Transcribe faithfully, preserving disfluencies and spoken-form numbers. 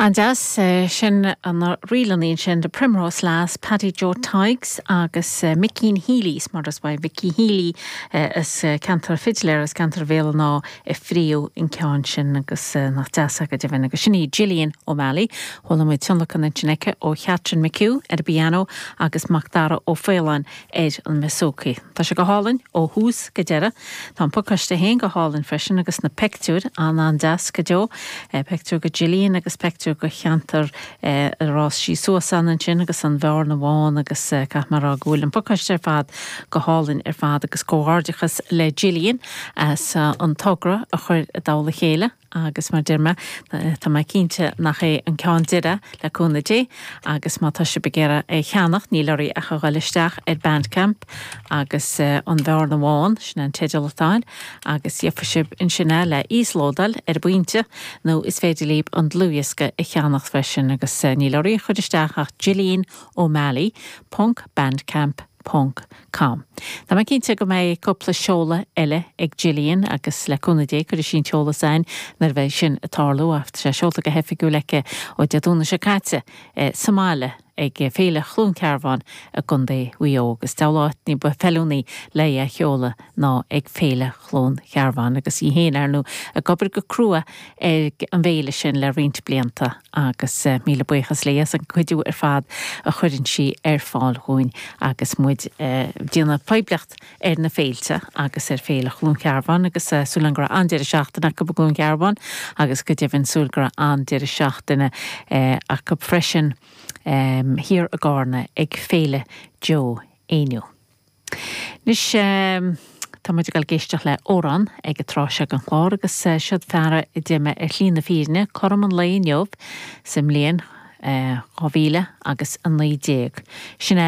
An-deas sin an rílanna sin de Primrose Lass Paddy Joe Tighes agus uh, Mickeen Healy mar is ba Mickey Healy uh, as uh, ceantar fiddler as ceantar Bhéal an Átha a phríomh an ceann sin agus uh, nach deas go deimhin agus sin í Gillian O'Malley chuala muid tionlacan ansin aici ó Chatrin McHugh ar piano agus Macdara Ó Faoláin ar an mbouzouki. Tá sé go hálainn ó thús go deireadh Tá an pacáiste féin go hálainn freisin agus na pictiúir an an-deas go deo pictiúr go Gillian agus pictiúr go cheantar ar fhás sí suas ansin agus an Bhearna Bhán agus caithfidh mé a rá go bhfuil an pacáiste ar fad go hálainn ar fad agus comhghairdeachas le Gillian as an togra a chur i dtoll a chéile agus mar deir mé tá mé cinnte nach é an ceann deireadh le cúnamh Dé agus má tá sibh ag iarraidh é cheannach níl oraibh ach a dhul isteach ar Bandcamp agus uh, an Bhearna Bhán sin an teideal atá agus gheobhaidh sibh ansin é le íoslódáil ar bpointe nó is féidir libh an dlúthdhiosca a cheannach freisin agus uh, níl oraibh a chur isteach ach Gillian O'Malley ponc bandcamp ponc com. Tá mé cinnte go mbeidh cúpla seoladh eile ag Gillian agus le cúnamh Dé chuir sí an t-eolas ann nuair a bheidh sin ag tarlú ach sé seolta go hoifigiúil aici ó Dé Domhnaigh seo caite eh, sa mbaile ag Féile Chluain Cearbán i gContae Mhaigh Eo agus deabhal áit ní ba fheiliúnaí le é a sheoladh ná ag Féile Chluain Cearbán agus í féin ar ndóigh ag obair go crua ag an bhféile sin le roinnt blianta agus uh, míle buíochas léi as an cuidiú ar fad a chuireann sí ar fáil dúinn agus muid uh, déanamh poiblíocht ar na féilte agus ar Féile Chluain Cearbán agus uh, súil go raibh an-deireadh seachtaine acu i gCluain Cearbán agus go deimhin súil go raibh an-deireadh seachtaine uh, acu freisin um, thiar i gCarna ag Féile Joe Éinniú. Anois um, Tá muid ag éisteacht le amhrán ag an tráth seo den chlár agus uh, siod fear a d'imigh ar shlí na fírinne cothrom an lae inniu sa mbliain dhá mhíle agus a naoi déag. Sin é